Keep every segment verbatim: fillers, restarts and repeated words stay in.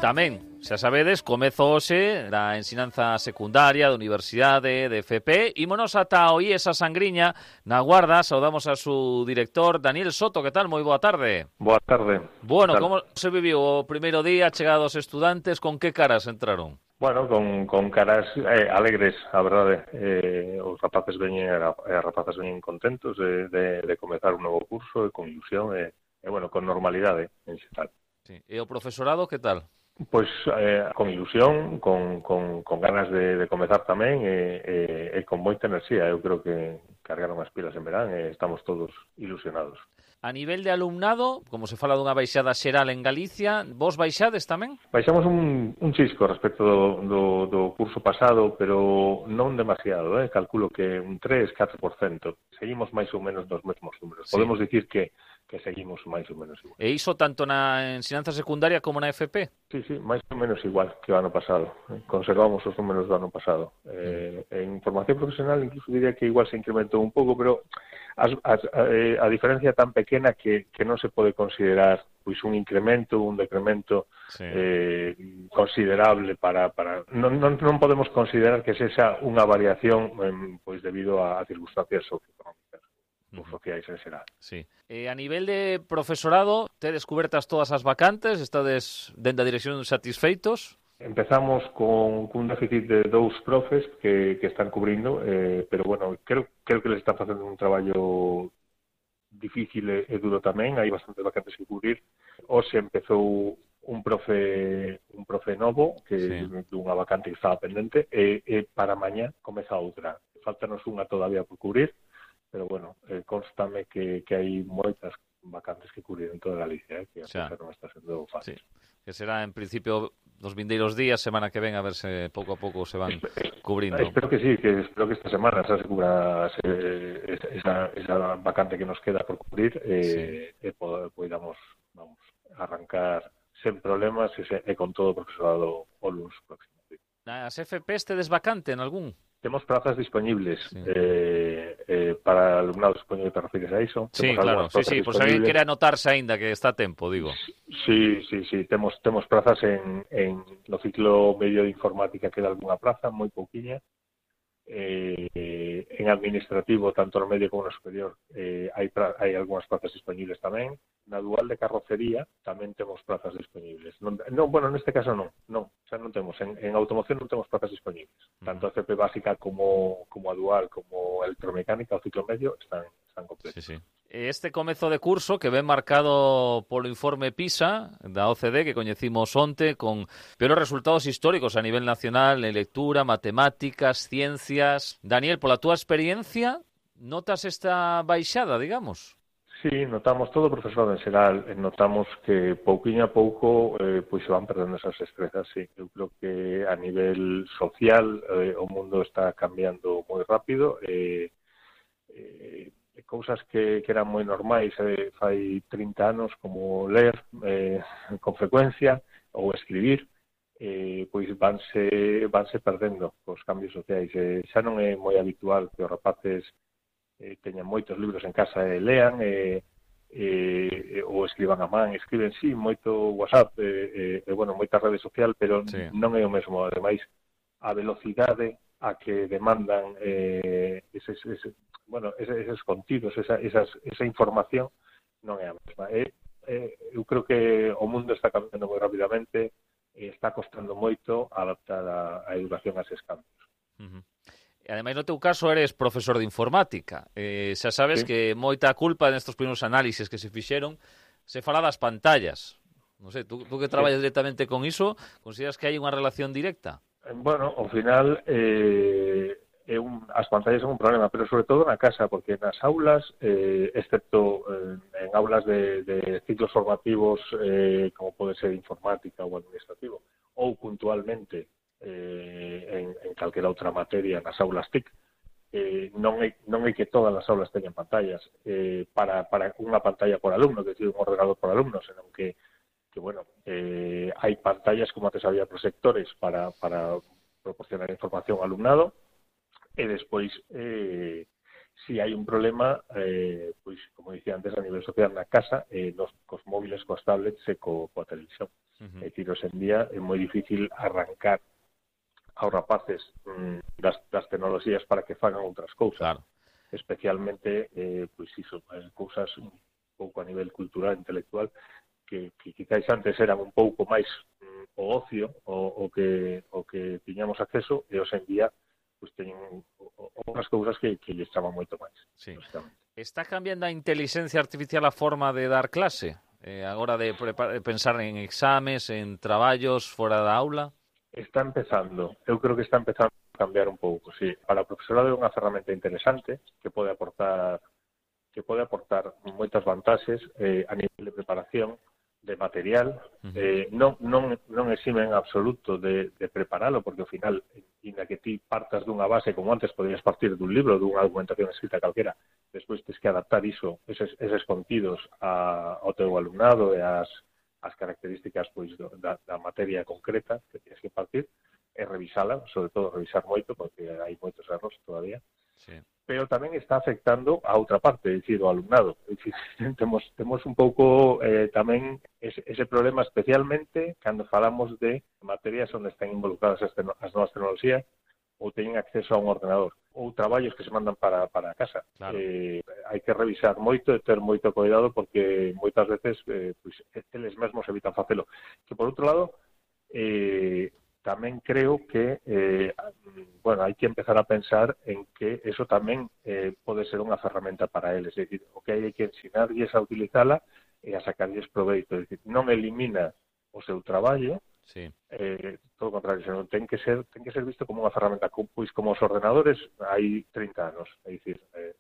Tamén, xa sabedes, comezo hoxe da ensinanza secundaria, de universidade, de F P. Ímonos ata o I E S a Sangriña, na Guarda. Saudamos a su director, Daniel Soto. Que tal? Moi boa tarde. Boa tarde. Bueno, como se viviu o primeiro día, chegados os estudantes, con que caras entraron? Bueno, con, con caras eh, alegres, a verdade. Eh, os rapaces veñen, e as rapazas veñen contentos de, de, de comezar un novo curso, e con ilusión, e, e bueno, con normalidade en xeral. Sí. E o profesorado, que tal? Pois eh, con ilusión, con, con, con ganas de, de comezar tamén e, e, e con moita enerxía. Eu creo que cargaron as pilas en verán e estamos todos ilusionados. A nivel de alumnado, como se fala dunha baixada xeral en Galicia, vos baixades tamén? Baixamos un, un chisco respecto do, do, do curso pasado, pero non demasiado, eh? Calculo que un tres, catro por cento. Seguimos máis ou menos nos mesmos números. Sí. Podemos dicir que que seguimos máis ou menos igual. E iso tanto na ensinanza secundaria como na F P? Sí, sí, máis ou menos igual que o ano pasado. Conservamos os números do ano pasado. Eh, en formación profesional incluso diría que igual se incrementou un pouco, pero as, as, a, a diferencia tan pequena que, que non se pode considerar pois un incremento, un decremento sí. eh, considerable para... para non, non, non podemos considerar que sexa unha variación eh, pois debido a, a circunstancias socioeconómicas. Os sociais en xeral. Sí. Eh, a nivel de profesorado, tedes cubertas todas as vacantes? Estades dende a dirección satisfeitos? Empezamos con, con un déficit de dous profes que, que están cubrindo, eh, pero bueno, creo, creo que les están facendo un traballo difícil e, e duro tamén, hai bastantes vacantes que cubrir. Hoxe empezou un profe un profe novo que sí. dunha vacante que estaba pendente e, e para mañá comeza outra. Faltanos unha todavía por cubrir, pero bueno, eh, constame que, que hai moitas vacantes que cubrir en toda Galicia, eh, que a cosa non está sendo fácil. Sí. Que será, en principio, dos vindeiros días, semana que ven, a ver se pouco a pouco se van Espe cubrindo. Espero que sí, que espero que esta semana se cubra se, esa, esa vacante que nos queda por cubrir e eh, sí. eh, podamos vamos, arrancar sen problemas e, se, e con todo o profesorado o lunes próximo. Sí. Nas F Pes tedes vacante en algún? Temos plazas disponibles sí. eh, eh, para alumnados, supoño que te refires a iso. Sí, claro, sí, sí, por se alguén quere anotarse aínda que está a tempo, digo. Sí, sí, sí, temos temos plazas en, en no ciclo medio de informática, queda algunha plaza, moi pouquiña. Eh, en administrativo, tanto no medio como no superior, eh, hai, hai algunhas plazas disponibles tamén. Na dual de carrocería tamén temos plazas disponibles. Non, non bueno, neste caso non, non, xa non temos. En, en automoción non temos plazas disponibles. Tanto a C P básica como, como a dual, como a electromecánica, o ciclo medio, están, están completos. Sí, sí. Este comezo de curso que ven marcado polo informe PISA da O C D que coñecimos onte con peores resultados históricos a nivel nacional en lectura, matemáticas, ciencias. Daniel, pola túa experiencia, notas esta baixada, digamos? Sí, notamos todo o profesorado en xeral, notamos que pouquiño a pouco eh, pois se van perdendo esas destrezas, sí. Eu creo que a nivel social eh, o mundo está cambiando moi rápido e eh, eh, cousas que, que eran moi normais eh, fai trinta anos, como ler eh, con frecuencia ou escribir, eh, pois vanse, vanse perdendo cos cambios sociais. Eh, xa non é moi habitual que os rapaces eh, teñan moitos libros en casa e lean e, e, ou escriban a man, escriben sí, moito WhatsApp e, e, e bueno, moita rede social, pero sí. non é o mesmo. Ademais, a velocidade a que demandan eh, eses, eses, bueno, eses, eses contidos, esa, esas, esa información non é a mesma. E, eh, eu creo que o mundo está cambiando moi rapidamente e está costando moito adaptar a, a educación a eses cambios. Uh-huh. E ademais, no teu caso, eres profesor de informática. Eh, xa sabes sí. que moita culpa nestes primeiros análises que se fixeron se fala das pantallas. Non sei, tú, tú que traballas sí. directamente con iso, consideras que hai unha relación directa? Bueno, ao final eh, é un, as pantallas son un problema, pero sobre todo na casa, porque nas aulas, eh, excepto eh, en aulas de, de ciclos formativos eh, como pode ser informática ou administrativo, ou puntualmente eh, en, en calquera outra materia nas aulas T I C, eh, non, é, non é que todas as aulas teñan pantallas eh, para, para unha pantalla por alumno, que decir, un ordenador por alumno, senón que que, bueno, eh, hai pantallas, como antes había proxectores para, para proporcionar información ao alumnado, e despois, eh, si hai un problema, eh, pois, como dicía antes, a nivel social na casa, eh, nos, cos móviles, cos tablets e co, coa televisión. Uh-huh. É dicir, hoxe en día é moi difícil arrancar aos rapaces mm, das, das tecnoloxías para que fagan outras cousas. Claro. Especialmente, eh, pois iso, eh, cousas un pouco a nivel cultural, intelectual, que, que quizáis antes eran un pouco máis mm, o ocio, o, o que o que tiñamos acceso, e hoxe en día pois teñen outras cousas que, que lles chaman moito máis. Sí. Está cambiando a inteligencia artificial a forma de dar clase? Eh, agora de pensar en exames, en traballos fora da aula? Está empezando. Eu creo que está empezando a cambiar un pouco, sí. Para o profesorado é unha ferramenta interesante que pode aportar que pode aportar moitas vantaxes eh, a nivel de preparación, de material, uh-huh. eh, non, non, non exime en absoluto de, de preparalo, porque ao final, inda que ti partas dunha base, como antes podías partir dun libro, dunha documentación escrita calquera, despois tens que adaptar iso, eses, eses contidos a, ao teu alumnado e as, as características pois, do, da, da materia concreta que tens que partir, e revisala, sobre todo revisar moito, porque hai moitos erros todavía. Sí. Pero tamén está afectando a outra parte, é dicir, o alumnado. É dicir, temos, temos un pouco eh, tamén ese, ese problema, especialmente cando falamos de materias onde están involucradas as, as novas tecnoloxías ou teñen acceso a un ordenador ou traballos que se mandan para, para casa. Claro. Eh, hai que revisar moito e ter moito cuidado porque moitas veces eh, pues, eles mesmos evitan facelo. Que, por outro lado, eh, tamén creo que eh, bueno, hai que empezar a pensar en que eso tamén eh, pode ser unha ferramenta para eles, é dicir, o que hai que ensinarlles a utilizala e a sacarlles proveito, é dicir, non elimina o seu traballo, sí. eh, todo o contrario, senón ten que ser ten que ser visto como unha ferramenta, pois como os ordenadores hai trinta anos, é dicir, eh,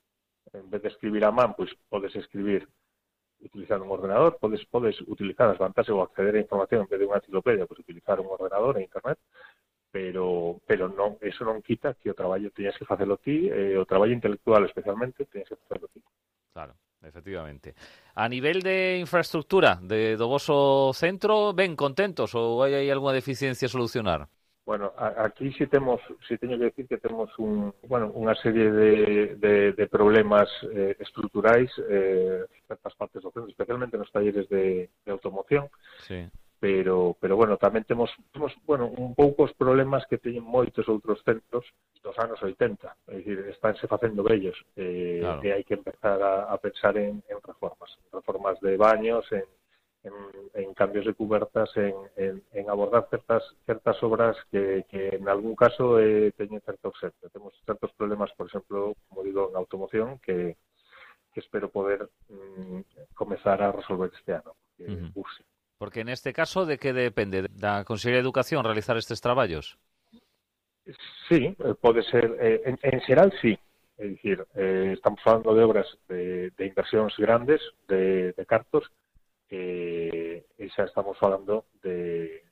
en vez de escribir a man, pois podes escribir utilizar un ordenador, podes podes utilizar as vantaxes ou acceder a información en vez de unha enciclopedia, podes utilizar un ordenador e internet, pero pero non, eso non quita que o traballo teñas que facelo ti, eh, o traballo intelectual especialmente teñas que facelo ti. Claro, efectivamente. A nivel de infraestructura de do voso centro, ben contentos ou hai aí algunha deficiencia a solucionar? Bueno, aquí sí temos, sí teño que decir que temos un, bueno, unha serie de, de, de problemas eh, estruturais eh, en certas partes do centro, especialmente nos talleres de, de automoción. Sí. Pero, pero bueno, tamén temos, temos bueno, un poucos problemas que teñen moitos outros centros dos anos oitenta, é dicir, estánse facendo vellos eh, claro. E hai que empezar a, a pensar en, en reformas, reformas de baños, en En, en cambios de cubertas, en, en, en abordar certas certas obras que, que en algún caso eh, teñen certo obxecto. Temos certos problemas, por exemplo, como digo, en automoción, que, que espero poder mm, comezar a resolver este ano. Que uh-huh. use. Porque neste caso, de que depende? Da Consellería de Educación realizar estes traballos? Sí, pode ser. Eh, en, en xeral, sí. É dicir, eh, estamos falando de obras de, de inversións grandes, de, de cartos, e eh, xa estamos falando de,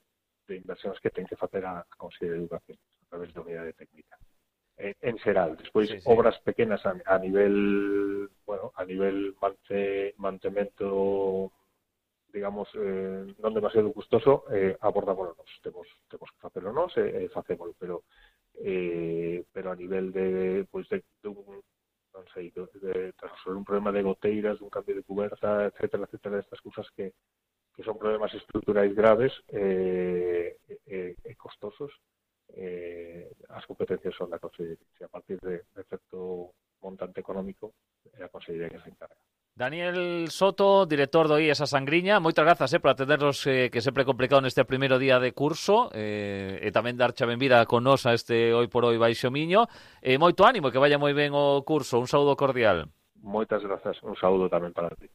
de inversións que ten que facer a Consellería de Educación a través da unidade técnica. En, en xeral, despois sí, sí. Obras pequenas a, a nivel, bueno, a nivel mante, mantemento, digamos, eh, non demasiado custoso, eh, abordámoslo nos. Temos, temos que facelo nos e eh, facémolo, pero eh, pero a nivel de, pois, de, de un non sei, de, de, de resolver un problema de goteiras, un cambio de cuberta, etcétera, etcétera, estas cousas que, que son problemas estruturais graves e eh, eh, eh, costosos, eh, as competencias son da Consellería. A partir de, de certo montante económico, é a Consellería que se encarga. Daniel Soto, director do I E S A Sangriña, moitas grazas eh, por atendernos, eh, que sempre é complicado neste primeiro día de curso, eh, e tamén darche a benvida con nos a este Hoy por Hoy Baixo Miño, e moito ánimo, que vaya moi ben o curso. Un saúdo cordial. Moitas grazas, un saúdo tamén para ti.